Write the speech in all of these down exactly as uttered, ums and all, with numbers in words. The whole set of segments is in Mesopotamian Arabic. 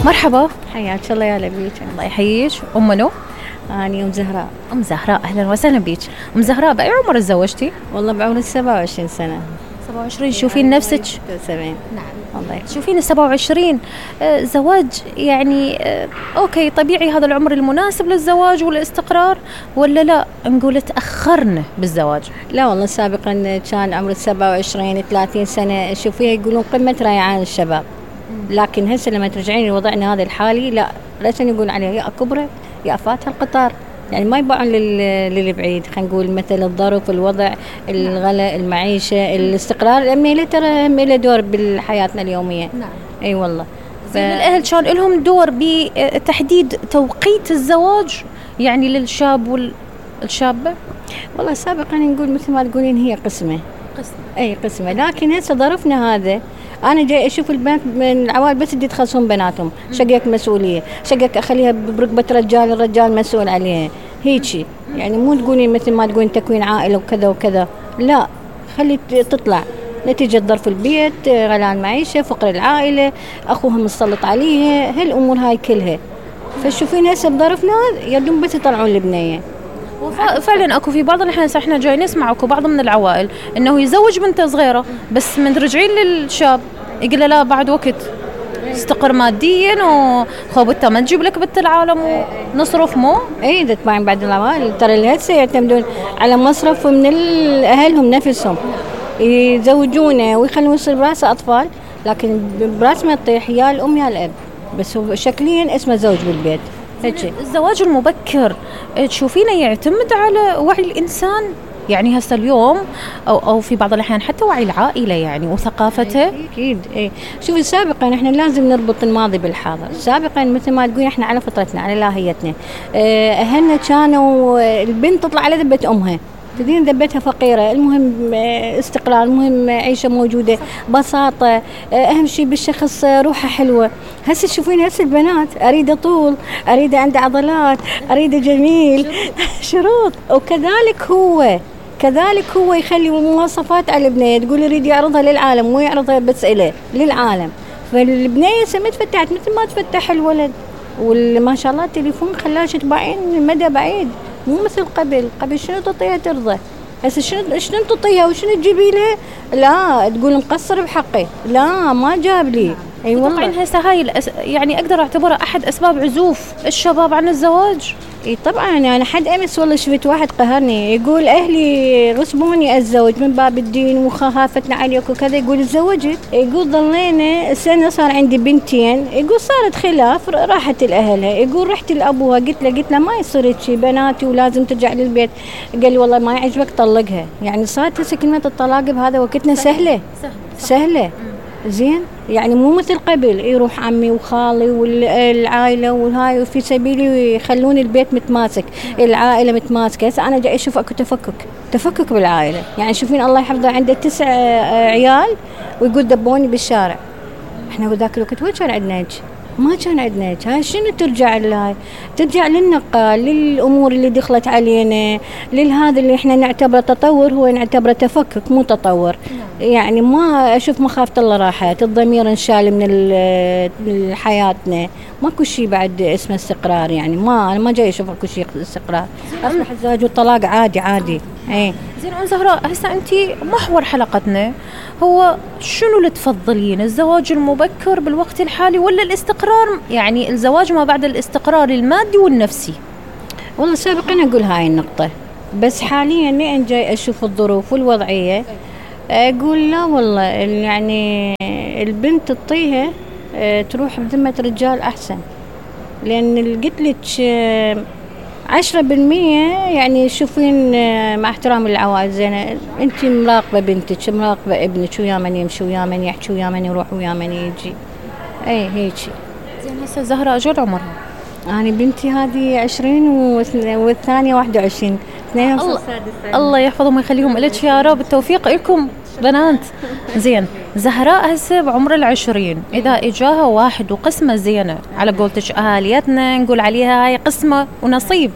مرحبا. حياك الله يا لبيك. الله يحييك. أم منو؟ أنا أم زهراء. أم زهراء، أهلا وسهلا بيك. أم زهراء بأي عمر تزوجتي؟ والله بعمر السبعة وعشرين سنة. سبعة وعشرين. شوفين نفسك؟ سبعين. نعم. الله يحييك. شوفين السبعة وعشرين آه زواج يعني آه أوكي طبيعي، هذا العمر المناسب للزواج والاستقرار، ولا لا نقول تأخرنا بالزواج؟ لا والله سابقا كان عمر السبعة وعشرين ثلاثين سنة شوفيها يقولون قمة ريعان الشباب، لكن هسه لما ترجعين لوضعنا هذا الحالي لا ليش يقول عليه يا كبرت يا فاتها القطار، يعني ما يباعون للبعيد. خلينا نقول مثل الظرف، الوضع، الغلاء، المعيشة، الاستقرار، أمي ترى أمي له دور بحياتنا اليومية. نعم. أي والله. ف... الأهل كان لهم دور بتحديد توقيت الزواج يعني للشاب والشابة؟ والله سابقا نقول مثل ما تقولين هي قسمة قسمة أي قسمة، لكن هسه ظرفنا هذا أنا جاي أشوف البنات من العوائل بس بدي يتخلصون بناتهم، شقك مسؤولية، شقك أخليها بركبة رجال، الرجال مسؤول عليها، هيجي يعني مو تقولين مثل ما تقولين تكوين عائلة وكذا وكذا، لا خلي تطلع نتيجة ظرف البيت، غلاء المعيشة، فقر العائلة، أخوها مسلط عليها، هالأمور هاي كلها. فشوفين هسه بظرفنا يدوم بس يطلعون البنية. فعلا اكو في بعض الاحيان احنا جاي نسمع اكو بعض من العوائل انه يزوج بنته صغيره، بس من رجعين للشاب يقول له لا بعد وقت استقر ماديا وخوبتها ما تجيب لك بنت العالم ونصرف مو اي اذا تبعين بعد العوائل ترى اللي هسه يعتمدون على مصرف من اهلهم نفسهم يزوجونه ويخلون يصير براسه اطفال، لكن براس ما تطيح يا الام يا الاب، بس هو شكليا اسمه زوج بالبيت. الزواج المبكر تشوفينه يعتمد على وعي الإنسان يعني هسه اليوم أو, أو في بعض الأحيان حتى وعي العائلة يعني وثقافته؟ أكيد. إيه شوفي سابقا إحنا لازم نربط الماضي بالحاضر، سابقا مثل ما تقولين إحنا على فطرتنا على لاهيتنا، أهلنا كانوا البنت تطلع على ذبة أمها، تدين ذبتها فقيرة، المهم استقرار، المهم عيشة موجودة، بساطة، أهم شيء بالشخص روحه حلوة. هسه تشوفين هسه البنات أريد طول، أريد عنده عضلات، أريد جميل شروط. وكذلك هو كذلك هو يخلي مواصفات على البنية، تقول يريد يعرضها للعالم مو يعرضها بس إليه للعالم. فالبنية سمت فتحت مثل ما تفتح الولد، وما شاء الله التليفون خلاش تباعين مدى بعيد، مو مثل قبل. قبل شنو تعطيها ترضى، هسه شنو شنو تعطيها وشنو تجيبي له؟ لا تقول مقصر بحقي، لا ما جاب لي. اي والله. طبعا هسه هاي الأس... يعني اقدر اعتبرها احد اسباب عزوف الشباب عن الزواج. اي طبعا. انا حد امس والله شفت واحد قهرني يقول اهلي غصبوني اتزوج من باب الدين وخافتنا عليك وكذا، يقول تزوجت، يقول ضلينا سنه صار عندي بنتين، يقول صارت خلاف راحت لاهلها، يقول رحت لابوها قلت له قلت له ما يصير شيء بناتي ولازم ترجع للبيت، قال لي والله ما يعجبك طلقها. يعني صارت هسه كلمه الطلاق بهذا وقتنا سهله سهله, سهلة. زين يعني مو مثل قبل يروح عمي وخالي والعائله والهاي وفي سبيلي يخلون البيت متماسك، العائله متماسكه. هسه انا جاي اشوف اكو تفكك تفكك بالعائله، يعني شوفين الله يحفظه عنده تسع عيال ويقول دبوني بالشارع. احنا بذاك الوقت وين كان عندنا هيك؟ ما كان عندنا هيك. هاي شنو ترجع لهاي؟ ترجع للنقال، للامور اللي دخلت علينا، للهذا اللي احنا نعتبره تطور هو نعتبره تفكك مو تطور. يعني ما اشوف مخافه الله راحت، الضمير انشال من حياتنا، ماكو شيء بعد اسمه استقرار. يعني ما انا ما جاي اشوف اكو شيء استقرار، اصبح الزواج والطلاق عادي عادي. اي زين ام زهراء، هسه انت محور حلقتنا هو شنو اللي تفضلين، الزواج المبكر بالوقت الحالي ولا الاستقرار، يعني الزواج ما بعد الاستقرار المادي والنفسي؟ والله سابقا اقول هاي النقطه، بس حاليا لين جاي اشوف الظروف والوضعيه اقول لا والله يعني البنت تطيها تروح بذمه رجال احسن، لان قلت لك عشرة بالمية يعني شوفين مع احترام العوائل زينة، انت مراقبة بنتك، مراقبة ابنك ويا من يمشي ويا من يحكي ويا من يروح ويا من يجي. اي هيجي. زين هسه زهراء شو عمرها؟ أنا بنتي هذه عشرين والثانية واحد وعشرين. اثنين الله, الله يحفظهم ويخليهم لك يا رب، التوفيق لكم بنات. زين زهراء هسه بعمر العشرين، إذا إجاها واحد وقسمة زينة على قولتك أهاليتنا نقول عليها هاي قسمة ونصيب،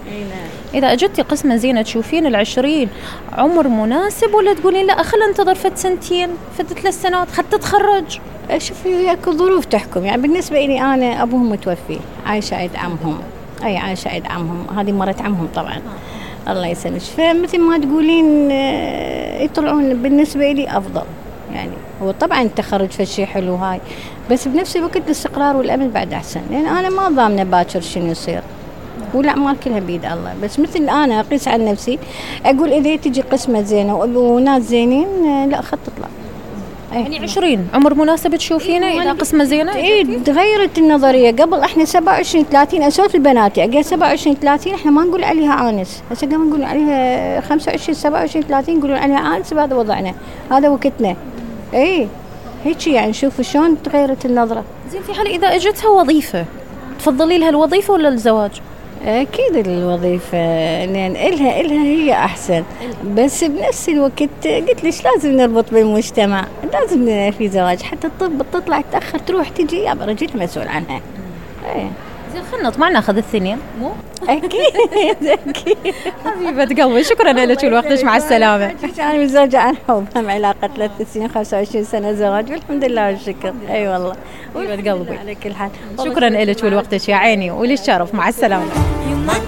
اذا اجتي قسمه زينه تشوفين العشرين عمر مناسب، ولا تقولين لا خلينا ننتظر فد سنتين فد ثلاث سنوات حتى تتخرج؟ شوفي اكو ظروف تحكم. يعني بالنسبه لي انا ابوهم متوفي، عايشه عند عمهم، اي عايشه عند عمهم، هذه مرت عمهم طبعا الله يسلمك. فمثل ما تقولين يطلعون بالنسبه لي افضل. يعني هو طبعا التخرج فشي حلو هاي، بس بنفس الوقت الاستقرار والامل بعد احسن، لان انا ما ضامنه باكر شنو يصير، والاعمال كلها بيد الله. بس مثل انا اقيس على نفسي اقول اذا تجي قسمه زينه وناس زينين لا خط تطلع. يعني عشرين عمر مناسب تشوفينه إذا قسمة زينة؟ إيه تغيرت النظرية. قبل إحنا سبعة وعشرين ثلاثين أسولف البناتي أقول سبعة وعشرين ثلاثين إحنا ما نقول عليها آنس، هسه قام نقول عليها خمسة وعشرين سبعة وعشرين ثلاثين يقولون عليها آنس، بهذا وضعنا هذا وقتنا. إيه هيك يعني شوفوا شلون تغيرت النظرة. زين في حال إذا أجتها وظيفة تفضلي لها الوظيفة ولا الزواج؟ أكيد الوظيفة، لأن إلها إلها هي أحسن، بس بنفس الوقت قلت ليش لازم نربط بالمجتمع، لازم في زواج حتى الطب تطلع تأخر تروح تجي يا رجل مسؤول عنها. إيه زين خلنا نطمع ناخذ الثنين مو؟ أكيد أكيد حبيبة قلبي شكرا لك ولوقتك، مع السلامة. أنا متزوجة عن حب، هم علاقة ثلاث سنين خمسة وعشرين سنة زواج والحمد لله والشكر. أي أيوة والله حبيبة قلبي على كل حال. شكرا لك ولوقتك يا عيني وللشرف، مع السلامة.